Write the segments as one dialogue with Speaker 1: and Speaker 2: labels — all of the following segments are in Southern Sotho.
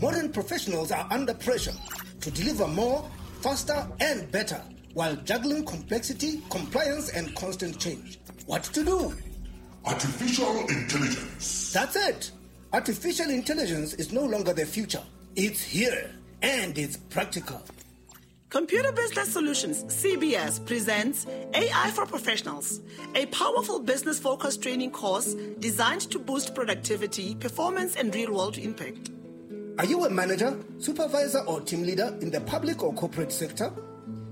Speaker 1: Modern professionals are under pressure to deliver more, faster, and better while juggling complexity, compliance, and constant change. What to do?
Speaker 2: Artificial intelligence.
Speaker 1: That's it. Artificial intelligence is no longer the future. It's here and it's practical.
Speaker 3: Computer Business Solutions, CBS, presents AI for Professionals, a powerful business focused training course designed to boost productivity, performance, and real world impact.
Speaker 1: Are you a manager, supervisor, or team leader in the public or corporate sector?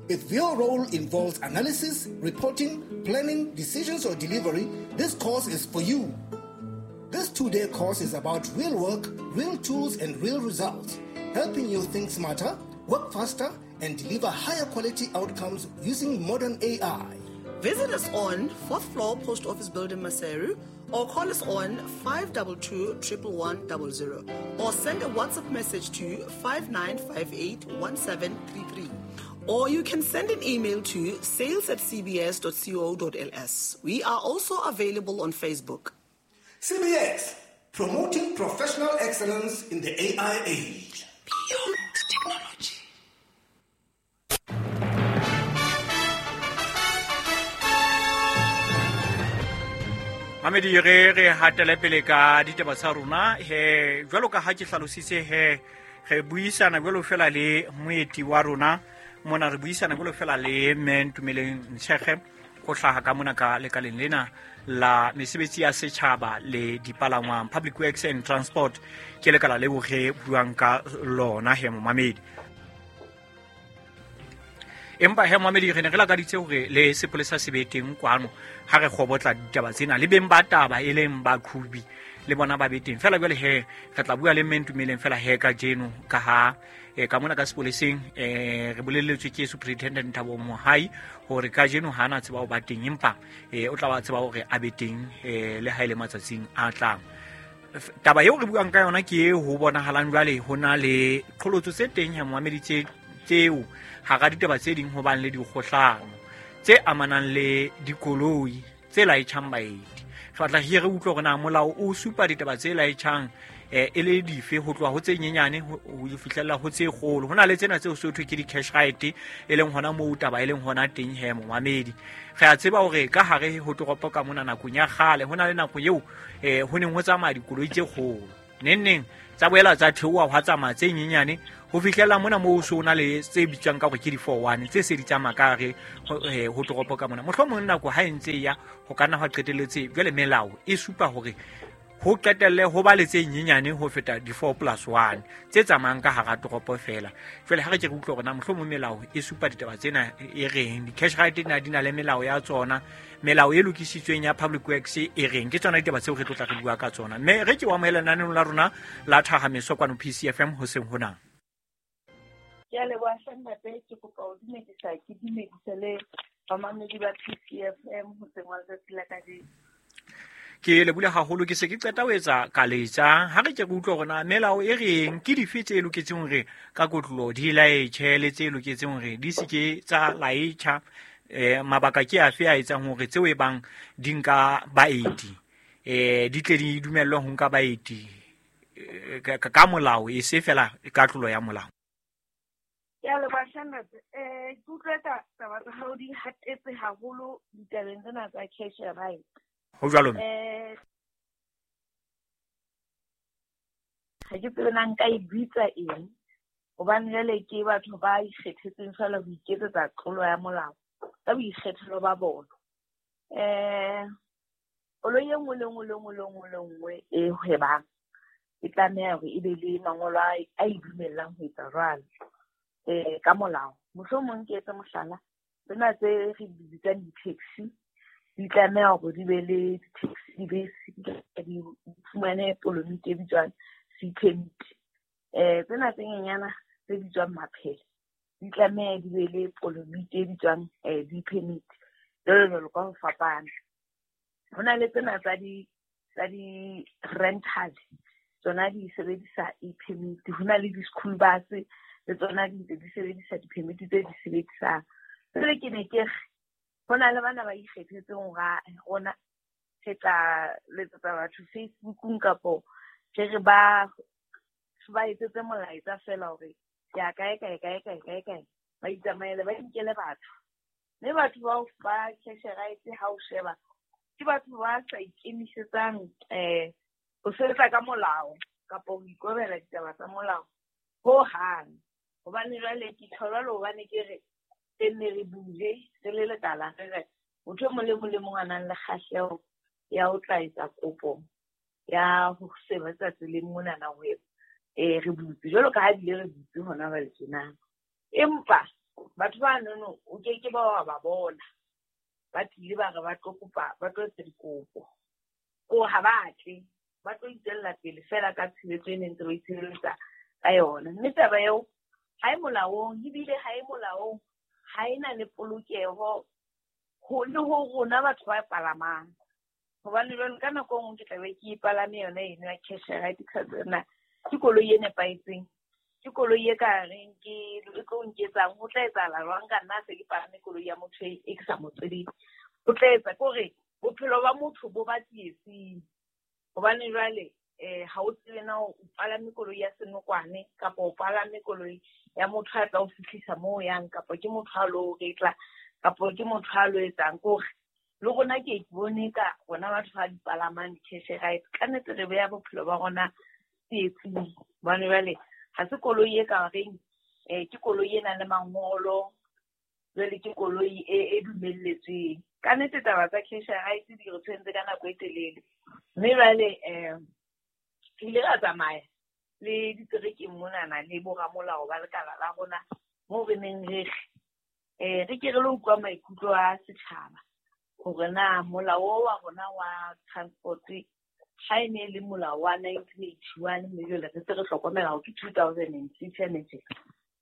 Speaker 1: If your role involves analysis, reporting, planning, decisions, or delivery, this course is for you. This 2-day course is about real work, real tools, and real results, helping you think smarter, work faster, and deliver higher quality outcomes using modern AI.
Speaker 3: Visit us on 4th floor Post Office Building, Maseru, or call us on 522 11100 or send a WhatsApp message to 5958 1733. Or you can send an email to sales at cbs.co.ls. We are also available on Facebook.
Speaker 1: CBS, promoting professional excellence in the AI age.
Speaker 3: Beyond technology.
Speaker 4: Mamedi, re hatele pele ka ditaba tsa rona he. Jwalo ka ha ke hlalositse he, re buisana jwalo fela le moeti wa rona mona, re buisana jwalo fela le mme Ntumeleng Ntshege go hlaha ka mona ka lekaleng lena la mesebetsi ya setjhaba le dipalangwang, Public Works and Transport, ke lekala leo re buang ka lona he, momamedi. Empa he, momamedi, re ne re lakaditse hore le sepolesa se be teng kwano ha re kgobotla ditaba tsena, le beng ba taba e leng baqhobi le bona ba be teng. Fela jwale he, re tla bua le mme Ntumeleng fela he kajeno, ka ha ka mona ka sepoleseng re bolelletswe ke Superintendent Thabo Mohai hore kajeno ha ana tseba ho ba teng, empa o tla ba tseba hore a be teng le ha e le matsatsing a tlang. Taba eo re buang ka yona ke e ho bonahalang jwale ho na le qholotso tse teng he, momamedi, tseo hara ditaba tse ding ho bang le dikgohlano tse amanang le dikoloi tse laetjhang baeti. Re batla re utlwe hore na molao o supa ditaba tse laetjhang e le dife, ho tloha ho tse nyenyane ho fihlella ho tse kgolo. Ho na le tsena tseo so thwe ke di-cash right, e leng hona moo taba e leng hona teng he, momamedi. Re a tseba hore ka hare ho toropo ka mona nakong ya kgale ho na le nako eo ho neng ho tsamaya dikoloi tse kgolo, neng neng tsa boela tsa theoha hwa tsamaya tse nyenyane ho fihlela mona moo so na le tse bitswang ka hore ke di-4-1 tse se di tsamaya ka hare ho toropo ka mona. Mohlomong nako ha e ntse e ya ho ka nna hwa qetelletse jwale melao e supa hore ho qetelle ho ba le tse nyenyane ho feta di-4+1 tse tsamayang ka hara toropo fela. Jwale ha re ke re utlwe hore na mohlomong melao e supa ditaba tsena e reng, di-cash right na di na le melao ya tsona, melao e lokisitsweng ya Public Works e reng. Ke tsona ditaba tseo re tlo tla re bua ka tsona. Mme re ke o amohela lenaneo la rona la Thahameso kwano PCFM hoseng hona.
Speaker 5: Ke a leboha hle ntate, ke kopa ho dumedisa, ke dumedise le bamamedi ba PCFM hoseng wa letsatsi la kajeno.
Speaker 4: Ke lebule haholo, ke se ke qeta ho etsa kaletsa. Ha re ke re utlwe hore na melao e reng, ke dife tse loketseng hore ka kotlolo di laetjhe le tse loketseng hore di se ke tsa laetjha. Mabaka ke afe a etsang hore tseo e bang di nka baeti di tle di dumellwe ho nka baeti ka molao, e se fela ka tlolo ya molao.
Speaker 5: Ke a leboha hle ntate. Ke utlwe taba tsa hao di hatetse haholo ditabeng tsena tsa cash right.
Speaker 4: Ho jwalo.
Speaker 5: Ha ke tsebe na nka e bitsa eng, hobane jwale ke batho ba ikgethetseng feela ho iketsetsa tlolo ya molao ka boikgethelo ba bona. Koloi e nngwe le nngwe le nngwe le nngwe le nngwe e hwebang e tlameha hore e be le mangolo a e dumellang ho etsa jwalo ka molao. Mohlomong ke etse mohlala, tsena tse re di bitsang di-taxi di tlameha hore di be le di-taxi, di bese, di fumane polomiti e bitswang C permit. Tsena tse nyenyana tse bitswang maphele di tlameha di be le polomiti e bitswang D permit, jwalo jwalo ka ho fapana. Ho na le tsena tsa di-rental, tsona di sebedisa e-permit. Ho na le di-school bus le tsona di ntse di sebedisa di-permit tse di sebedisang. Jwale ke ne ke re ho na le bana ba ikgethetseng hore rona re tla letsetsa batho Facebookong kapo re re ba ba etsetse molaetsa fela hore ke ya kae kae kae kae kae kae, ba itsamaele ba inkele batho. Mme batho bao ba cash ride ha o sheba ke batho ba sa ikemisetsang ho sebetsa ka molao kapa ho ikobela ditaba tsa molao ho hang. Hobane jwale ke tjho jwalo hobane ke re nne re bule re le lekala re re motho e mong le mong le mong a nang le kgahleho ya ho tla etsa kopo ya ho sebetsa tseleng monana ho re butse jwalo ka ha bile re butse hona jwale tjena. Empa batho ba nono o ke ke ba wa ba bona ba tlile ba re ba tlo kopa, ba tlo etsa dikopo, ko ha ba tle, ba tlo itswella pele fela ka tshebetso e neng ntse ba itshireletsa ka yona. Mme taba eo ha e molaong, ebile ha e molaong, ha e na le polokeho ho le ho rona batho ba palamang. Hobane jwale ka nako e nngwe ke tla be ke palame yona eno ya cash ride ka tsena, ke koloi e nepahetseng, ke koloi e ka reng ke e tlo nketsang, ho tla etsahala jwang ka nna se ke palame koloi ya motho e ke sa mo tsebeng. Ho tla etsa ke hore bophelo ba motho bo ba tsietsing. Hobane jwale ha o tsebe na o palame koloi ya senokwane kapa o palame koloi ya motho a tla o fihlisa moo o yang, kapa ke motho a lo retla, kapa ke motho a lo etsang. Ke hore le rona ke ke bone ka rona batho ba di palamang di-cash ride, ka nnete re beha bophelo ba rona tsietsing. Hobane jwale ha se koloi e ka reng ke koloi e nang le mangolo, jwale ke koloi e dumelletsweng. Ka nnete taba tsa cash ride di re tshwentse ka nako e telele. Mme jwale re ile ra tsamaya le diterekeng monana le boramolao ba lekala la rona moo re neng re re ke re lo utlwa maikutlo a setjhaba hore na molao o wa rona wa transport ha e ne le molao wa 1981, mme jwale re se re hlokomela hore ke 2006 ene tje.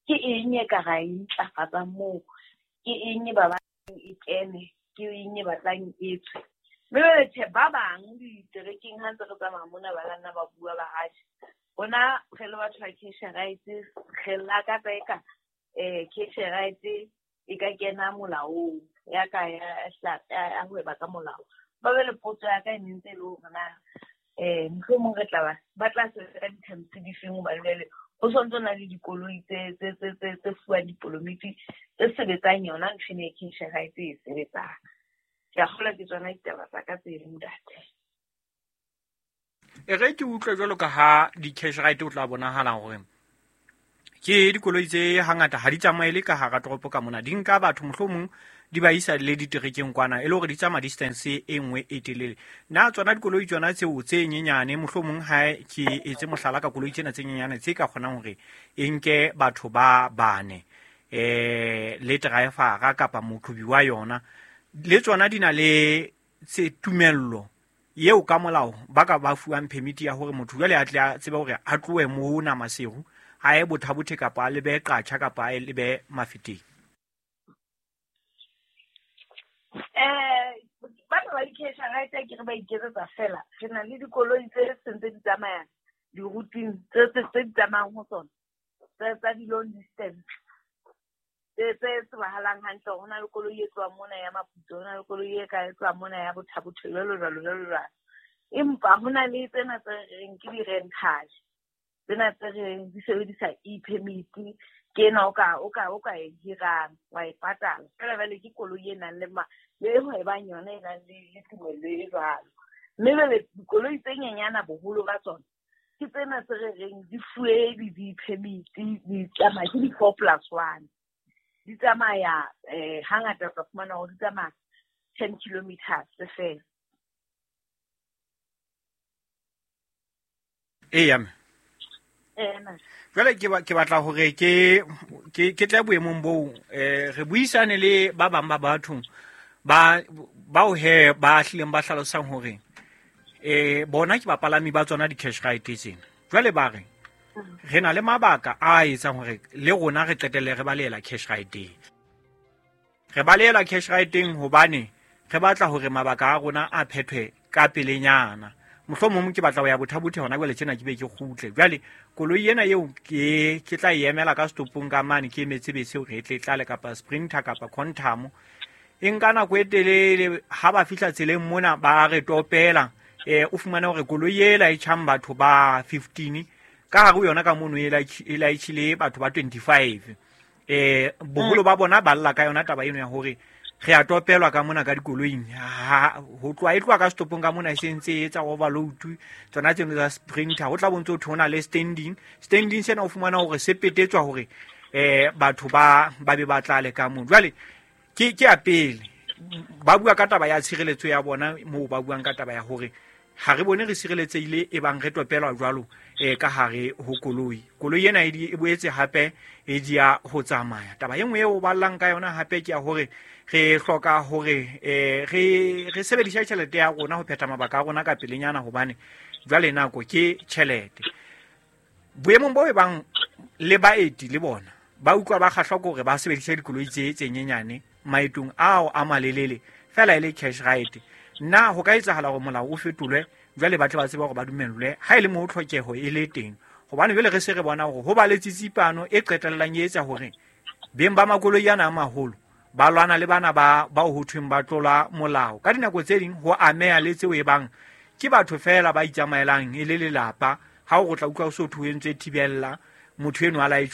Speaker 5: Ke eng e ka ra e ntlafatsang moo? Ke eng e ba batlang e kene? Ke eng e batlang e tswe? Mme jwale tjhe, ba bang diterekeng ha ntse re tsamaya mona ba nna ba bua ba hatjhe. Rona re le batho ba cash ride, re lakatsa eka cash ride e ka kena molaong ya ka ya hweba ka molao. Ba be le potso ya ka e ne ntse e le hore na mohlomong re tla ba tla sebetsa ka di-terms di feng, hobane jwale ho sontso na le dikoloi tse fuwang dipolomiti tse sebetsang yona ntho ena e cash ride e sebetsang. Ke a kgolwa ke tsona ditaba tsa ka tse ntate.
Speaker 4: E re ke utlwe jwalo ka ha di-cash ride o tla bonahala hore ke dikoloi tse hangata ha di tsamaele ka hara toropo ka mona, di nka batho mohlomong di ba isa le diterekeng kwana, e le hore di tsamaya distance e nngwe e telele. Na tsona dikoloi tsona tseo tse nyenyane, mohlomong ha ke etse mohlala ka koloi tsena tse nyenyane tse ka kgonang hore e nke batho ba bane le driver kapa moqhobi wa yona, le tsona di na le tse tumello eo ka molao ba ka ba fuwang permit ya hore motho jwale a tle a tsebe hore a tlohe mona Maseru a ye Bothabothe kapa a lebe Qacha kapa a lebe Mafeteng.
Speaker 5: Batho ba di-cash ride ke re ba iketsetsa fela. Re na le dikoloi tse sentse di tsamaya di-routeng tse di tsamayang ho tsona tsa di-long distance tse tsebahalang hantle. Ho na le koloi e tlohang mona ya Maputo, ho na le koloi e ka e tlohang mona ya Bothabothe, jwalo jwalo jwalo jwalo. Empa ho na le tsena tse reng ke di-rental, tsena tse reng di sebedisa e-permit, ke ena o ka e hirang wa e patala fela. Jwale ke koloi e nang le le hwebang yona e nang le tumello e jwalo. Mme jwale dikoloi tse nyenyana boholo ba tsona ke tsena tse re reng di fuwe di-permit, di tsamaya ke di-4+1, di tsamaya hangata o tla fumana hore di tsamaya 10 kilometers fela.
Speaker 4: Eya mme. Jwale ke batla hore ke tle boemong boo re buisane le ba bang ba batho ba bao he ba hlileng ba hlalosang hore bona ke bapalami ba tsona di-cash ride tsena. Jwale ba re re na le mabaka a etsang hore le rona re qetelle re balehela cash ride. Re balehela cash ride hobane re batla hore mabaka a rona a phethwe ka pelenyana. Mohlomong ke batla ho ya Bothabothe hona jwale tjena ke be ke kgutle. Jwale koloi ena eo ke tla e emela ka stopong ka mane, ke emetse bese hore e tle tlale kapa Sprinter kapa Quantum. E nka nako e telele, ha ba fihla tseleng mona ba re topela. O fumane hore koloi ela e tjhang batho ba 15 Ka hare ho yona ka mono e laitjhile batho ba 25. Boholo ba bona ba lla ka yona taba eno ya hore re a topelwa ka mona ka dikoloing. Ho tloha e tloha ka setopong ka mona e se ntse e etsa overload, tsona tseno tsa sprinter. Ho tla bontse ho thwe ho na le standing. Standing sena o fumana hore se petetswa hore batho ba be ba tlale ka mono. Jwale ke ya pele ba bua ka taba ya tshireletso ya bona, moo ba buang ka taba ya hore ha re bone re sireletsehile e bang re topelwa jwalo ka hare ho koloi. Koloi ena e boetse hape e dia ho tsamaya. Taba e nngwe eo ba llang ka yona hape ke ya hore re hloka hore re sebedise tjhelete ya rona ho phetha mabaka a rona ka pelenyana, hobane jwale nako ke tjhelete. Boemong bo e bang le baeti le bona ba utlwa ba kgahlwa ke hore ba sebedise dikoloi tse nyenyane maetong ao a malelele fela e le cash ride. Na ho ka etsahala hore molao o fetolwe jwale ba tle ba tsebe hore ba dumellwe ha e le moo tlhokeho e le teng? Hobane jwale re se re bona hore ho ba le tsitsipano e qetellang e etsa hore beng ba makoloi ana a maholo ba lwana le bana ba bao ho thweng ba tlola molao. Ka dinako tse ding ho ameha le tseo e bang ke batho feela ba itsamaelang e le lelapa. Ha o tla utlwa o so thwe o entse thibella motho eno a la e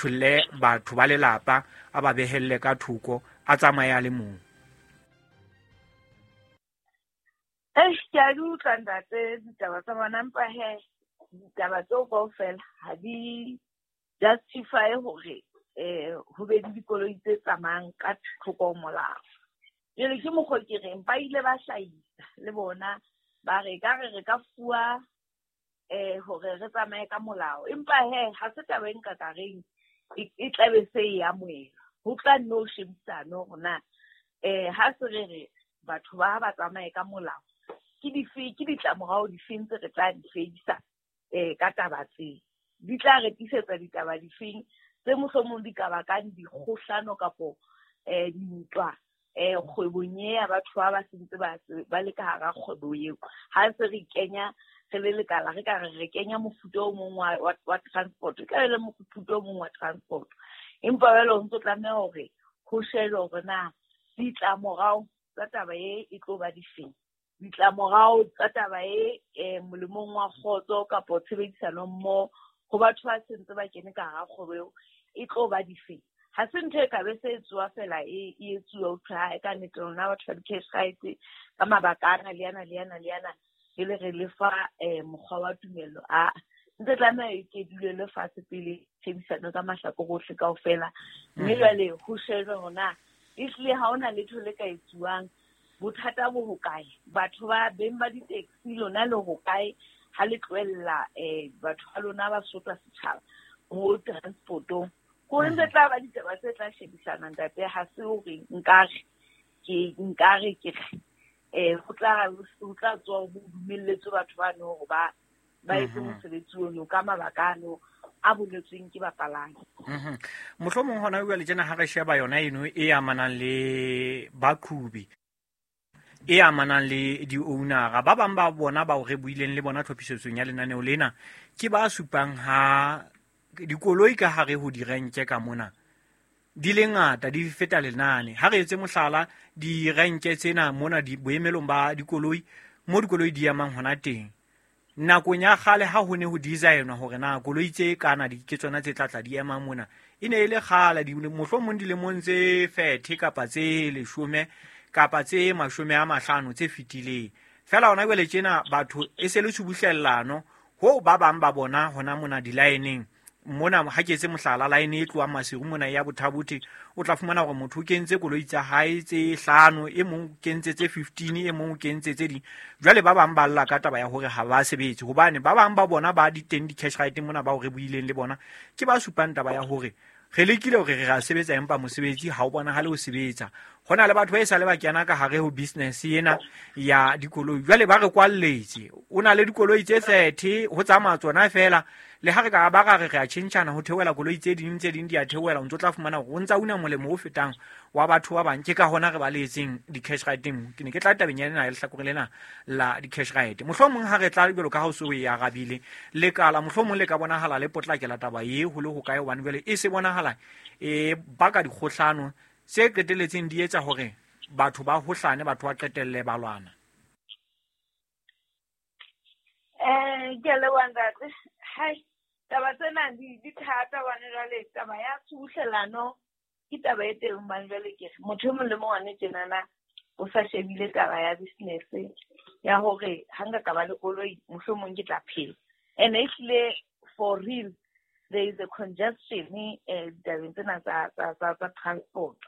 Speaker 4: batho ba lelapa a ba behelle ka thoko a tsamaye a le mong.
Speaker 5: Ke a di utlwa ntate ditaba tsa bona, empa he ditaba tseo kaofela ha di justify hore ho be le dikoloi tse tsamayang ka thoko ho molao. Jwale ke mokgwa ke reng ba ile ba hlahisa le bona ba re ka re re ka fuwa hore re tsamaye ka molao, empa he ha se taba e nka ka reng e tlabe se e amohelwa. Ho tla nne ho shebisane hore na ha se re re batho ba tsamaye ka molao ke dife, ke ditlamorao difeng tse re tla di fedisa ka taba tse di tla re tisetsa ditaba difeng tse mohlomong di ka bakang dikgohlano kapo dintwa kgwebong e ya batho ba sentse ba le ka hara kgwebo eo. Ha se re kenya re le lekala re ka re kenya mofuta o mong wa transport, e tla be le mofuta o mong wa transport, empa jwale ho ntso tlameha hore ho shejwe hore na ditlamorao tsa taba e e tlo ba difeng, ditlamorao tsa taba e molemong wa kgotso kapo tshebedisano mmoho ho batho ba sentse ba kene ka hara kgwebo eo e tlo ba difeng. Ha se ntho e ka be se etsuwa fela e etsuwa ho thwe ha e ka nnete lona batho ba di-cash rights ka mabaka ana le ana le ana le ana jwale re lefa mokgwa wa tumello. A ntse tlameha e ke dule le fatshe pele tshebedisano ka mahlakore ohle kaofela, mme jwale ho shejwe hore na ehlile ha hona letho le ka etsuwang, bothata bo hokae, batho ba beng ba di-taxi lona le hokae ha le tlohella batho ba lona ba sotla setjhaba mo transportong. Ko ntse tla ba ditaba tse tla shebisana ntate, ha se hore nkare ke re ho tla tswa ho dumelletswe batho ba no hore ba etse mosebetsi ono ka mabaka ano a boletsweng ke bapalami.
Speaker 4: Mohlomong hona jwale tjena ha re sheba yona eno e amanang le baqhubi, e amanang le di-ownera, ba bang ba bona bao re buileng le bona tlhophisetsong ya lenaneo lena ke ba supang ha dikoloi ka hare ho direnke ka mona di le ngata di feta lenane. Ha re etse mohlala direnke tsena mona di boemelong ba dikoloi mo dikoloi di emang hona teng, nakong ya kgale ha ho ne ho designwa hore na koloi tse kana di ke tsona tse tla di ema mona, e ne e le kgale mohlomong dilemong tse 30 kapa tse 10 kapa tse 50 tse fetileng. Fela hona jwale tjena batho e se le tshubuhlellano ho ba bang ba bona hona mona di-line-eng mona. Ha ke etse mohlala line e tlohang Maseru mona ya Bothabothe, o tla fumana hore motho o kentse koloi tsa hae tse 5, e mong o kentse tse 15, e mong o kentse tse ding. Jwale ba bang ba lla ka taba ya hore ha ba sebetse, hobane ba bang ba bona ba di teng di-cash ride mona bao re buileng le bona ke ba supang taba ya hore re lekile hore re ra sebetsa empa mosebetsi ha o bonahale ho sebetsa. Ho na le batho ba e sale ba kena ka hare ho business ena ya dikoloi, jwale ba re kwalletse. O na le dikoloi tse 30 ho tsamaya tsona fela, le ha re ka ba ra re re a tjhentjhana ho theohela koloi tse ding di a theohela, o ntso tla fumana hore o ntsa una molemo o fetang wa batho ba bang. Ke ka hona re baletseng di-cash ride. Ke ne ke tla tabeng ya lena lehlakore lena la di-cash ride. Mohlomong ha re tla jwalo ka ha o se o e arabile lekala, mohlomong le ka bonahala le potlakela taba e ho le hokae, hobane jwale e se bonahala e baka dikgohlano tse qetelletseng di etsa hore batho ba hohlane, batho ba qetelle ba lwana.
Speaker 5: Ke a leboha ntate. Hai, Taba tsena di thata hobane jwale taba ya tshubuhlellano ke taba e teng hobane jwale ke re motho e mong le mong hane tjenana o sa shebile taba ya business ya hore ha nka ka ba le koloi mohlomong ke tla phela. And ehlile for real there is a congestion ditabeng tsena tsa transport.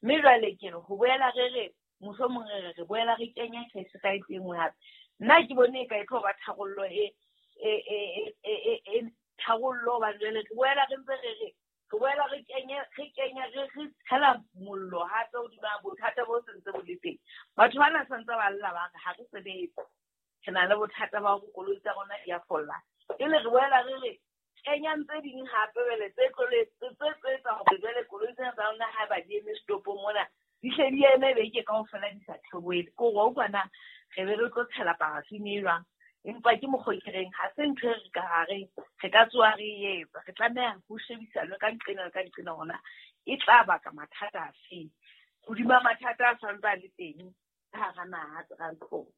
Speaker 5: Mme jwale ke re ho boela re re mohlomong re re boela re kenya cash right e nngwe hape. Nna ke bone e ka e tlo ba tharollo e tharollo hobane jwale re boela re ntse re re re boela re kenya re tshela mollo hape hodima bothata bo sentse bo le teng. Batho bana santse ba lla ba re ha re sebetse, re na le bothata ba hore koloi tsa rona di a folla. Jwale re boela re re kenyang tse ding hape jwale tse tlo tse etsa hore jwale koloi tsena tsa rona haeba di eme setopong mona di hle di eme beke kaofela di sa theohele. Ke hore wa utlwa na re be re tlo tshela parafini e jwang? Empa ke mokgwa ke reng ha se ntho e re ka re re ka tsoha re etsa. Re tlameha ho shebisanwe ka nqena le ka nqena hore na e tla baka mathata afe hodima mathata a santse a le teng ka hara naha transport.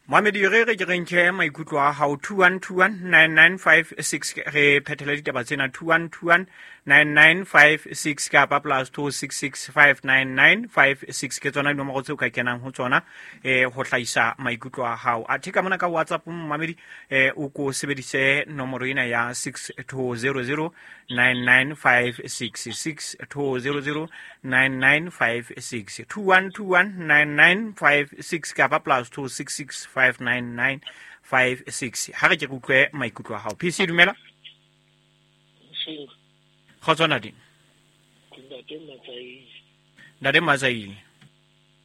Speaker 4: Mohamedi re re ke re nke maikutlo a hao 21219956 re phethele ditaba tsena 21219956 kapa plus 26659956 ke tsona dinomoro tseo ka kenang ho tsona ho hlahisa maikutlo a hao. Athe ka mona ka WhatsApp Mohamedi o ko sebedise nomoro ena ya 62009956 62009956 21219956 kapa plus 26659956. Ha re ke re utlwe maikutlo a hao. PC dumela. Kgotso Ntate.
Speaker 6: Ntate Matsaile.
Speaker 4: Ntate Matsaile.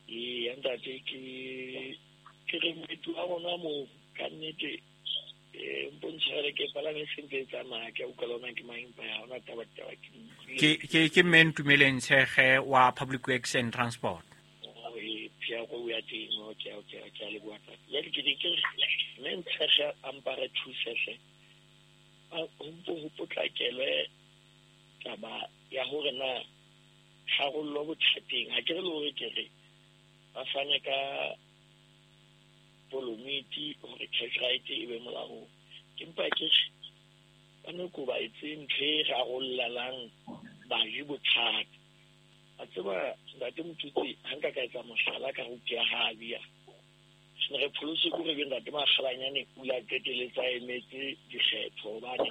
Speaker 6: Ee, ntate ke re mmetlo wa rona moo ka nnete mpontshare ke palame sentse e tsamaya ke a utlwa le hona ke mang empa ha hona taba ke utlwile.
Speaker 4: Ke mme Ntumeleng Tshekge wa Public Works and Transport.
Speaker 6: Pia go ya teng ke a leboha thata. Jwale ke ne ke re mme Ntshekge a mpa re thuse hle. Ho mpo ho potlakelwe taba ya hore na tharollo bothateng. Ha ke re le hore ke re ba fane ka polomiti hore cash right e be molaong. Empa ke re ba no ko ba etse ntho e rarollelang baji bothata. A tseba ntate Motutsi ha nka ka etsa mohlala ka ho tia ha bia. Se re pholose ko re be ntate Makgalanyane o la qeteletsa emetse dikgetho hobane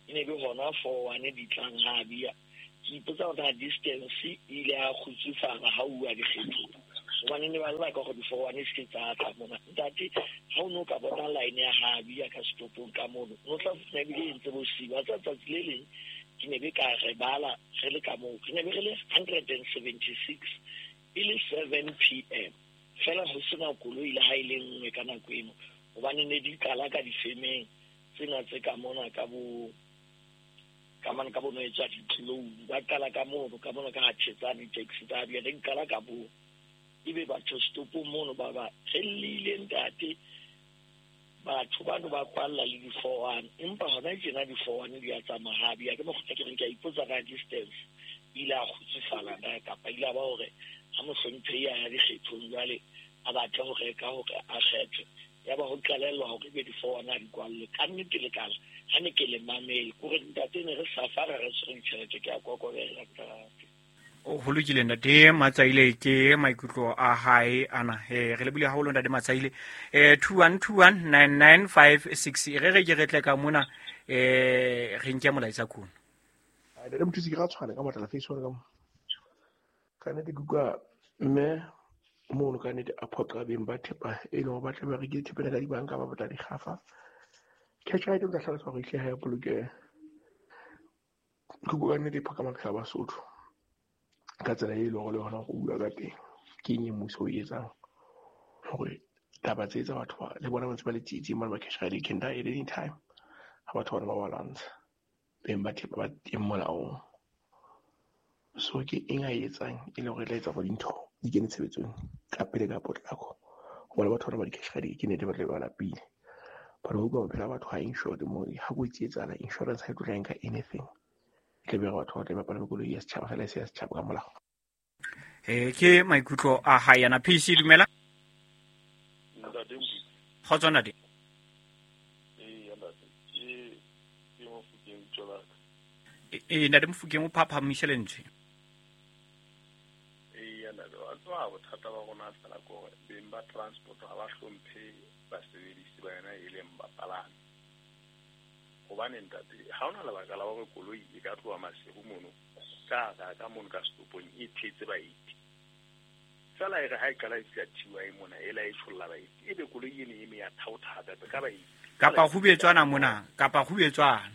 Speaker 6: e ne be hona 4-1 di tlang ha bia. Ke ipotsa hore na distance e ile ya kgutsufala ha uwa dikgethong. Hobane ne ba lla ka hore di 4-1 se ke tsa tla mona. Ntate ha o no ka bona line ya ha bia ka setopong ka mono. No tla fumana ebile e ntse bosiu. Wa tseba tsatsi le leng ke ne be ka re bala re le ka moo. Re ne be re le 176 e le 7 p.m. Fela ho sena koloi le ha e le nngwe ka nako eno. Hobane ne di qala ka difemeng tsena tse ka mona ka bo ka mane ka bono e tswa ditlou. Ba qala ka mono ka mona ka ha Thetsane taxi tsa bia di qala ka bo. Ebe batho stopong mono ba ba re llile ntate. Batho bano ba kwalla le di 4-1 empa hona tjena di 4-1 di a tsamaya ha bia ke mokgwa ke reng ke a ipotsa ka distance ile a kgutsufala na kapa ile a ba hore ha mohlomphehi a ya dikgethong jwale a batle ho reka hore a kgethwe ya ba ho qalellwa hore ebe di 4-1 a di kwalle ka nnete le kala ha ne ke le mamele kore ntate ne re safara re tshwere ditjhelete ke a kokobela ntate.
Speaker 4: Ho lokile ntate Matsaile ke maikutlo a hae ana. Re lebile haholo ntate Matsaile. 21219956 re re ke re tle ka mona re nke molaetsa kuno.
Speaker 7: Ntate Mothusi ke ra tshwana ka matla face one ka mo. Ka nnete ke utlwa mme mono ka nnete a phoqa beng ba thepa e leng hore ba tla ba rekile thepa ena ka dibanka ba batla dikgafa. Cash right o tla hlalosa hore ehlile ha ya bolokeha. Ke utlwa ka nnete e phoqa maphelo a Basotho. Ka tsela e leng hore le hona ho bua ka teng ke eng e mmuso o e etsang hore taba tse tsa batho ba le bona ba ntse ba le tsietsing mane ba cash right they can die at any time ha batho bana ba ba lwantsha beng ba thepa ba teng molaong. So ke eng a e etsang e leng hore e tla etsa hore dintho di kene tshebetsong ka pele ka potlako hobane batho bana ba di-cash right ke nnete ba tla be ba lapile. But ho utlwa maphelo a batho ha insured mo ha kotsi e etsahala insurance ha e tlo tla nka anything. Ke be batho ba tla ba palame koloi ya setjhaba fela e se ya setjhaba ka molao.
Speaker 4: Ke maikutlo a hae ana. PC dumela.
Speaker 6: Ntate Mothusi.
Speaker 4: Kgotso ntate.
Speaker 6: Ee, ntate. Mofokeng tswela.
Speaker 4: Ntate Mofokeng o phaphamise lentswe.
Speaker 6: Eya ntate, wa tseba bothata ba rona fela ke hore beng ba transport ha ba hlomphe basebedisi ba yona e leng bapalami. Hobane ntate, ha hona lebaka la hore koloi e ka tloha Maseru mono ka hara ka mono ka setopong e thetse baeti. Fela e re ha e qala e fihla TY mona e la e tsholla baeti, ebe koloi ene e me ya thaotha hape ka baeti.
Speaker 4: Kapa kgubetswana mona, kapa kgubetswana.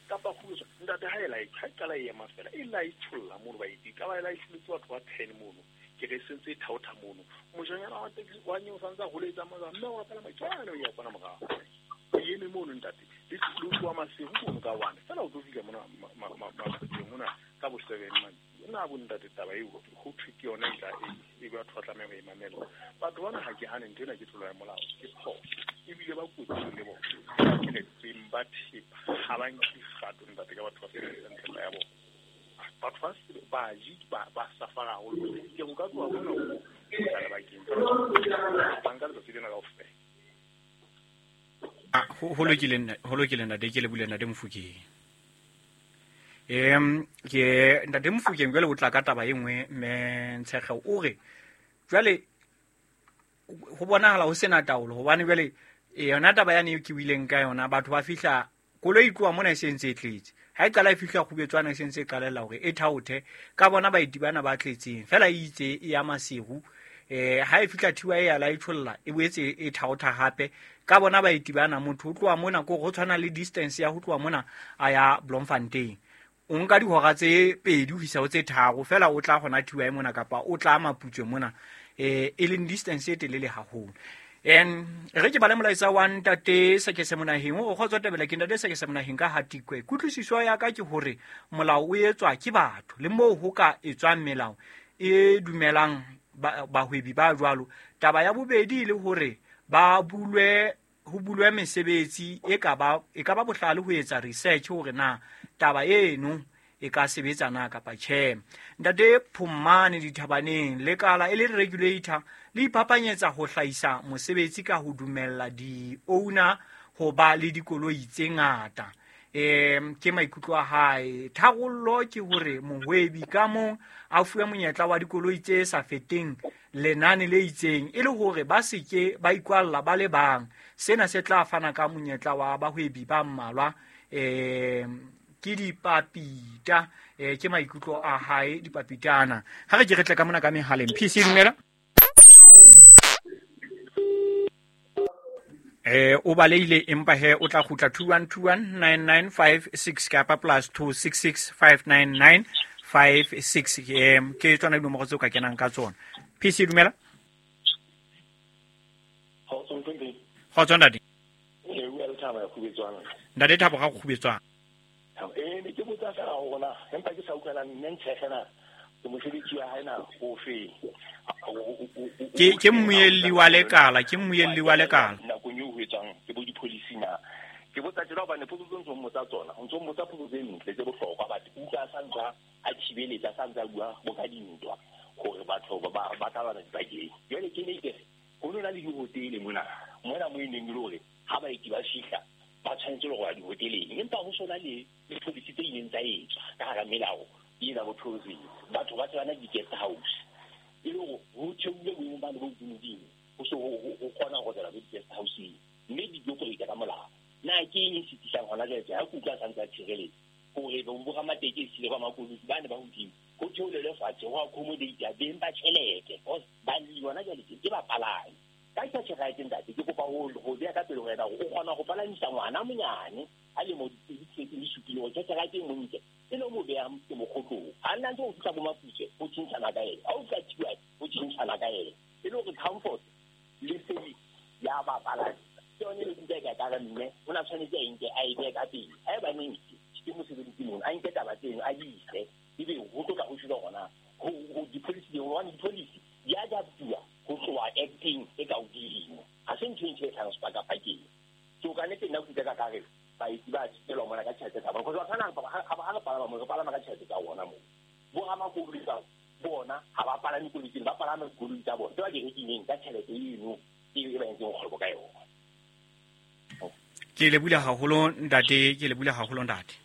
Speaker 6: Kapa kgubetswana. Ntate ha e la e ha e qala e ema fela, e la e tsholla mono baeti, ka ba e la e tsholetse batho ba 10 mono. Ke re sentse e thaotha mono. Mojanyana wa taxi wa nyeo santsa holetsa mona, mme wa palama ke o ya kwana morao. E eme mono ntate, le tloha Maseru mono ka 1. Fela o tlo fihla mona Maseru mona ka bo 7 mane. Nna bo ntate taba eo ho thwe ke yona e tla e batho ba tlameha ho e mamela. Batho bana ha ke hane ntho ena ke tlolo ya molao, ke phoso. Ebile ba kotsing le bona. Ke re beng ba thepa ha ba nke kgato ntate ka batho ba sebedisang thepa ya bona. Batho ba baji ba safara haholo. Ke o ka tloha mona o tla lebakeng. Ba nka letsatsi lena kaofela.
Speaker 4: Ho lokile ntate, ke lebule ntate Mofokeng. Ke ntate Mofokeng jwale o tla ka taba e nngwe mme Ntshekge o re jwale ho bonahala ho sena taolo hobane jwale yona taba yane ke buileng ka yona, batho ba fihla koloi e tloha mona e sentse e tletse. Ha e qala e fihla kgubetswana e sentse e qalella hore e thaothe ka bona baeti bana ba tletseng. Fela e itse e ya Maseru, ha e fihla thiwa e ya la e tsholla e boetse e thaotha hape ka bona baeti bana. Motho o tloha mona ko ho tshwana le distance ya ho tloha mona a ya Bloemfontein, o nka dihora tse 2 ho isa ho tse 3 fela o tla hona thiwa e mona kapa o tla Maputswe mona, e leng distance e telele haholo. Re ke bale molaetsa wa ntate Sekese Monaheng o kgotsa tabela ke ntate Sekese Monaheng ka Hatikwe. Kutlwisiso ya ka ke hore molao o etswa ke batho le moo ho ka etswang melao e dumelang bahwebi ba jwalo. Taba ya bobedi le hore ba bulwe ho bulwe mesebetsi e ka ba bohlale ho etsa research hore na taba eno e ka sebetsa na kapa tjhe. Ntate Phumane Dithabaneng, lekala e le regulator le iphapanyetsa ho hlahisa mosebetsi ka ho dumella di-owner ho ba le dikoloi tse ngata. Ke maikutlo a hae. Tharollo ke hore mohwebi ka mong a fuwe monyetla wa dikoloi tse sa feteng lenane le itseng e le hore ba se ke ba ikwalla ba le bang. Sena se tla fana ka monyetla wa bahwebi ba mmalwa. Ke dipapita, ke maikutlo a hae dipapitana. Ha re ke re tle ka mona ka mehaleng. PC dumela. O baleile empa he o tla kgutla 21219956 kapa +266 59956. Ke tsona dinomoro tseo ka kenang ka tsona. PC dumela. Kgotso ntate. Ntate Thabo ga go khubetswana.
Speaker 6: Ne ke botsa fela hore na empa ke sa utlwana nne Ntshekge na ke mosebetsi wa hae na o fe.
Speaker 4: Ke mmuelli wa lekala, ke mmuelli wa lekala.
Speaker 6: Nakong eo ho etswang ke bo di-policy na. Ke botsa tjena hobane potso tse ntso mmotsa tsona, o ntso mmotsa potso tse ntle tse bohlokwa, but utlwa sa ntsa a thibeletsa sa ntsa bua bo ka dintwa hore batho ba tla bana dipakeng. Jwale ke ne ke re ho nona le dihotele mona mo e neng e le hore ha baeti ba fihla ba tshwanetse le go ya dihoteleng, empa ho sona le di-policy tse ileng tsa etswa ka hara melao ena bo tourism. Batho ba tsebana di-guest house e le hore ho theohile boemong bane bo hodimodimo, ho se ho kgona ho tswela bo di-guest house-eng mme di operate ka molao. Na ke eng e sitisang hona jwale ha ke utlwa sa ntse a tshireletsa hore bo ramatekesi le ba makoloi bane ba hodimo ho theolelwe fatshe ho accommodate beng ba tjhelete because ba yona jwale ke bapalami. Ka cash right ntate, ke kopa ho beha ka pele ho wena hore o kgona ho palamisa ngwana monyane a lemo di 7 hore cash right e montle e le mo beha ke mokgotlong. Ha nna ntse o fihla bo Maputswe o tjhentjhana ka ena, ha o fihla Thiwa o tjhentjhana ka ena, e le hore comfort le service ya bapalami ke yone e le ka ka re mme o na tshwanetse a nke a e behe ka pele. Ha eba neng ke mosebetsi mono a nke taba tseno a di ise, ebe ho tlo tla ho sheba hona ho di-policy di hobane di-policy di adaptuwa ho tloha acting e ka hodimo. Ha se ntho e ntho e tlhang sepakapakeng. So ka nnete nna ke utlwa ka re baeti ba thibelwa mona ka tjhelete tsa bona, because batho bana ha re palama mo re palama ka tjhelete tsa bona moo. Bo ramakoloi ba bona ha ba palame koloi tsena, ba palama dikoloi tsa bona tse ba di rekileng ka tjhelete eno e ba entseng kgwebo ka yona.
Speaker 4: Ke lebohile haholo ntate, ke lebohile haholo ntate.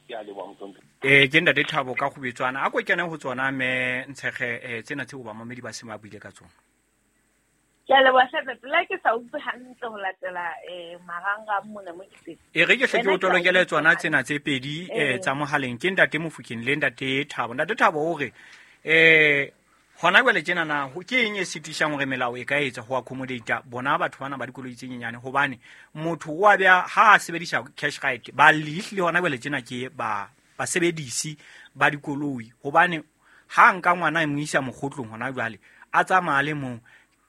Speaker 8: Ke a leboha mohlomphehhi.
Speaker 4: Ke ntate Thabo ka Kgubetswana. A ko kene ho tsona mme Ntshekge, tsena tseo bamamedi ba seng ba buile ka tsona.
Speaker 5: Ke a leboha hle ntate. Le ha ke sa utlwe hantle ho latela marangrang mona mo ke teng.
Speaker 4: E re ke hle ke
Speaker 5: Wena
Speaker 4: o
Speaker 5: ke a
Speaker 4: tolokele
Speaker 5: utlwa
Speaker 4: tsona
Speaker 5: hantle.
Speaker 4: tsena tse pedi, tsa mohaleng. Ke ntate Mofokeng le ntate Thabo. Ntate Thabo o re, hona jwale tjena na, ke eng e sitisang hore melao e ka etsa ho accommodate bona batho bana ba dikoloi tse nyenyane? Hobane motho o a beha ha a sebedisa cash right, ba lehle hona jwale tjena ke ba basebedisi ba dikoloi. Hobane ha nka ngwana a mo isa mokgotlong hona jwale, a tsamaya le mong,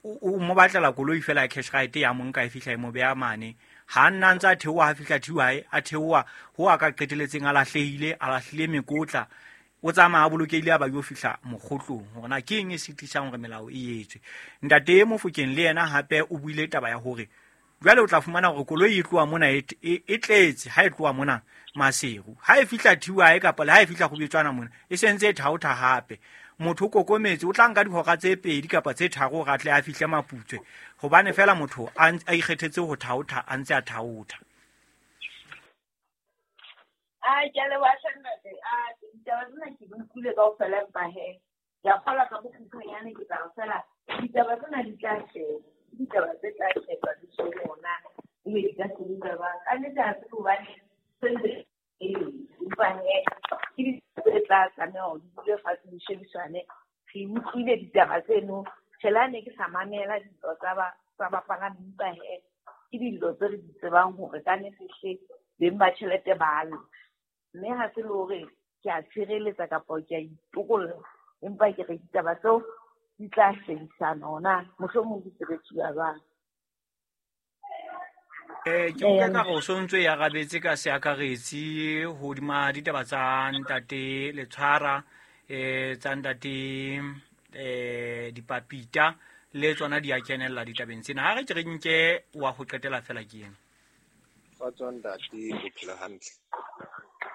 Speaker 4: o mo batlela koloi fela ya cash right ya mo nka e fihla e mo beha mane. Ha nna ntse a theoha, ha fihla thiwa, a theoha ho a ka qeteletseng a lahlehile, a lahlile mekotla, o tsamaya a bolokehile a ba yo fihla mokgotlong. Hore na ke eng e sitisang hore melao e etswe. Ntate Mofokeng le yena hape o buile taba ya hore jwale o tla fumana hore koloi e tloha mona e tletse ha e tloha mona Maseru. Ha e fihla Thiwae kapa le ha e fihla Kgubetswana mona, e sentse e thaotha hape. Motho o kokometse, o tla nka dihora tse 2 kapa tse 3 hore a tle a fihle Maputswe, hobane fela motho a ikgethetse ho thaotha, a ntse a thaotha.
Speaker 5: A ke a leboha hle ntate. A ditaba tsena ke di utlwile kaofela, empa he ke a kgolwa ka bokgutshwanyane ke tla re fela ditaba tsena di tla shejwa, ke ditaba tse tla shejwa di shebe hore na ebe di ka sebetsa jwang. Ka nnete ha se hobane se ntse e le, empa he ke ditaba tse tla tlameha hore di dule fatshe di shebisane. Re utlwile ditaba tseno, tjhe le ha ne ke sa mamela dintwa tsa bapalami, empa he ke dilo tse re di tsebang hore ka nnete hle beng ba tjhelete ba lla. Mme ha se le hore ke a tshireletsa kapa ke a itokolla, empa ke re ditaba tseo di tla shebisana hore na mohlomong di sebetsuwa jwang.
Speaker 4: Ke utlwa ka re o so ntso e arabetse ka seakaretsi hodima ditaba tsa ntate Letshwara, tsa ntate, Dipapita le tsona di a kenella ditabeng tsena. Ha re ke re nke wa ho qetela fela ke ena.
Speaker 9: Kgotso ntate, o phela hantle?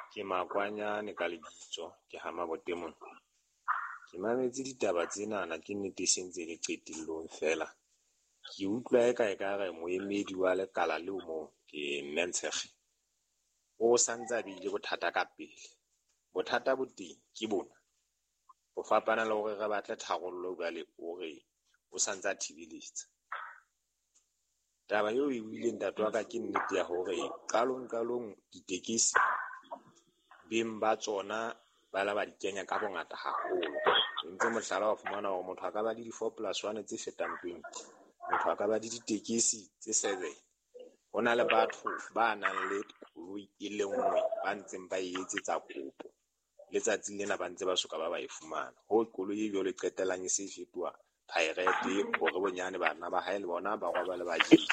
Speaker 9: Ke Makwanyane ka lebitso, ke ha Mabote mona. Ke mametse ditaba tsenana, ke nnete e sentse le qetellong fela. Ke utlwa eka ekare moemedi wa lekala leo moo ke mme Ntshekge, o santse a beile bothata ka pele. Bothata bo teng ke bona, ho fapana le hore re batle tharollo jwale, o re o santse a thibeletsa. Taba eo e buileng ntate wa ka ke nnete ya hore qalong ditekesi beng ba tsona ba la ba di kenya ka bongata haholo. Ntse mohlala wa fumana hore motho a ka ba le di-four plus one tse fetang 20, motho a ka ba le ditekesi tse 7. Ho na le batho ba nang le koloi e le nngwe ba ntseng ba e etsetsa kopo, letsatsing lena ba ntse ba soka ba ba e fumana. Ho koloi e jwalo e qetellang e se e fetoha pirate hore bonyane bana ba hae le bona ba robale ba jele.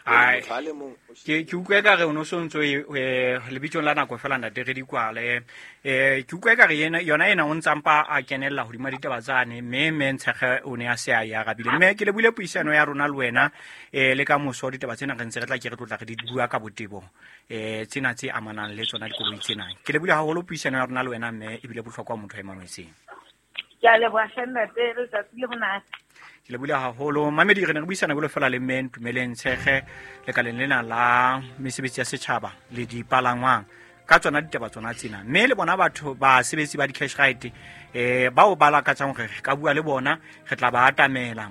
Speaker 4: Ai,
Speaker 9: Motho a le mong o
Speaker 4: ke utlwa ekare o no so ntso e, lebitsong la nako fela ntate re di kwale. Ke utlwa ekare yona ena o ntsa mpa a kenella hodima ditaba tsane, mme Ntshekge o ne a se a e arabile. Mme ke lebohile puisano ya rona le wena, le ka moso ditaba tsena re ntse re tla ke re tlotla re di bua ka botebo, tsena tse amanang le tsona dikoloi tsena. Ke lebohile haholo puisano ya rona le wena mme, ebile bohlokwa motho a e mametseng.
Speaker 5: Ke a leboha hle ntate, letsatsi le monate.
Speaker 4: Ke lebohile haholo. Mamedi, re ne re buisana jwalo fela le mme Ntumeleng Ntshekge lekaleng lena la mesebetsi ya setjhaba le dipalangwang ka tsona ditaba tsona tsena. Mme le bona batho basebetsi ba di-cash right, bao ba lakatsang hore re ka bua le bona, re tla ba atamela,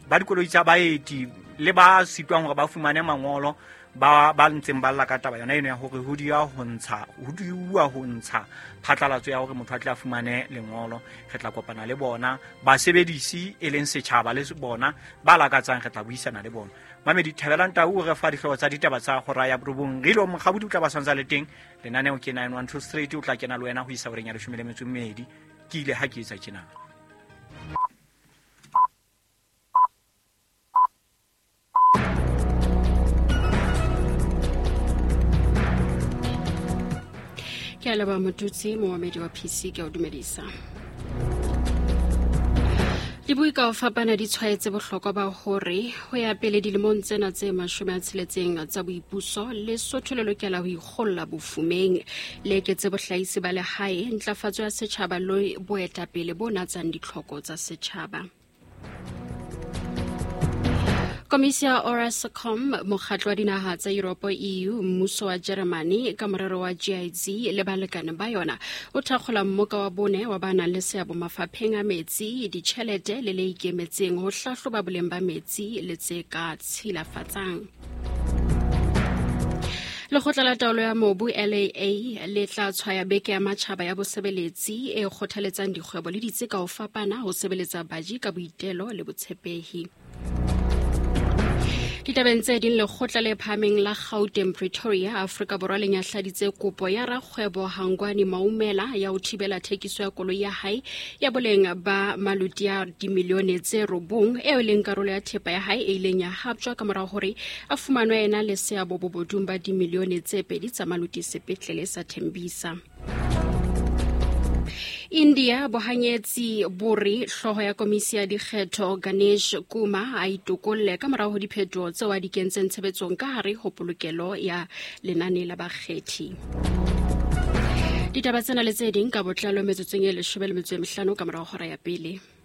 Speaker 4: ba dikoloi tsa baeti le ba sitwang hore ba fumane mangolo, ba ntseng ba lla ka taba yona eno ya hore ho diya ho ntsha, ho diuwa ho ntsha phatlalatso ya hore motho a tle a fumane lengolo. Re tla kopana le bona basebedisi e leng setjhaba le bona ba lakatsang, re tla buisana le bona. Mamedi, Thabelang Tau o re fa dihlooho tsa ditaba tsa hora ya 9. Re ile Mokgabudi o tla ba santsa le teng. Lenaneo ke 912 Street, o tla kena le wena ho isa horeng ya 12. Ke ile ha ke etsa tjena.
Speaker 10: Ke a leboha Motutsi, momamedi wa PC, ke a o dumedisa. Dibui ka ho fapana di tshwaetse bohlokwa ba hore ho ya pele dilemong tsena tse 60 tsa boipuso, Lesotho le lokela ho ikgolla bofumeng, le eketse bohlahisi ba lehae, ntlafatso ya setjhaba le boetapele bo natsang ditlhoko tsa setjhaba. Komisi ya Orascom, mokgatlo wa dinaha tsa Yuropo EU, mmuso wa Jeremane ka morero wa GIZ le balekane ba yona o thakgola mmoka wa bone wa ba nang le seabo mafapheng a metsi, ditjhelete le le ikemetseng ho hlahloba boleng ba metsi le tse ka tshilafatsang. Lekgotla la taolo ya mobu LAA le tla tshwaya beke ya matjhaba ya bosebeletsi e kgothaletsang dikgwebo le ditse ka ho fapana ho sebeletsa baji ka boitelo le botshepehi. Ditabeng tse ding, lekgotla le phahameng la Gauteng Pretoria, Afrika Borwa le nyahladitse kopo ya rakgwebo Hangwani Maumela ya ho thibela thekiso ya koloi ya hae ya boleng ba maloti a dimilione tse 9 eo e leng karolo ya thepa ya hae e ileng ya haptjwa ka morao hore a fumanwe ena le seabo bobodung ba dimilione tse 2 tsa maloti sepetlele sa Tembisa. India bohanyetsi bo re hlooho ya komisi ya dikgetho Ganesh Kumar a itokolle ka morao ho diphetoho tseo a di kentseng tshebetsong ka hare ho polokelo ya lenane la bakgethi. Ditaba tsena le tse ding ka botlalo metsotsong e 15 ka morao hora ya pele.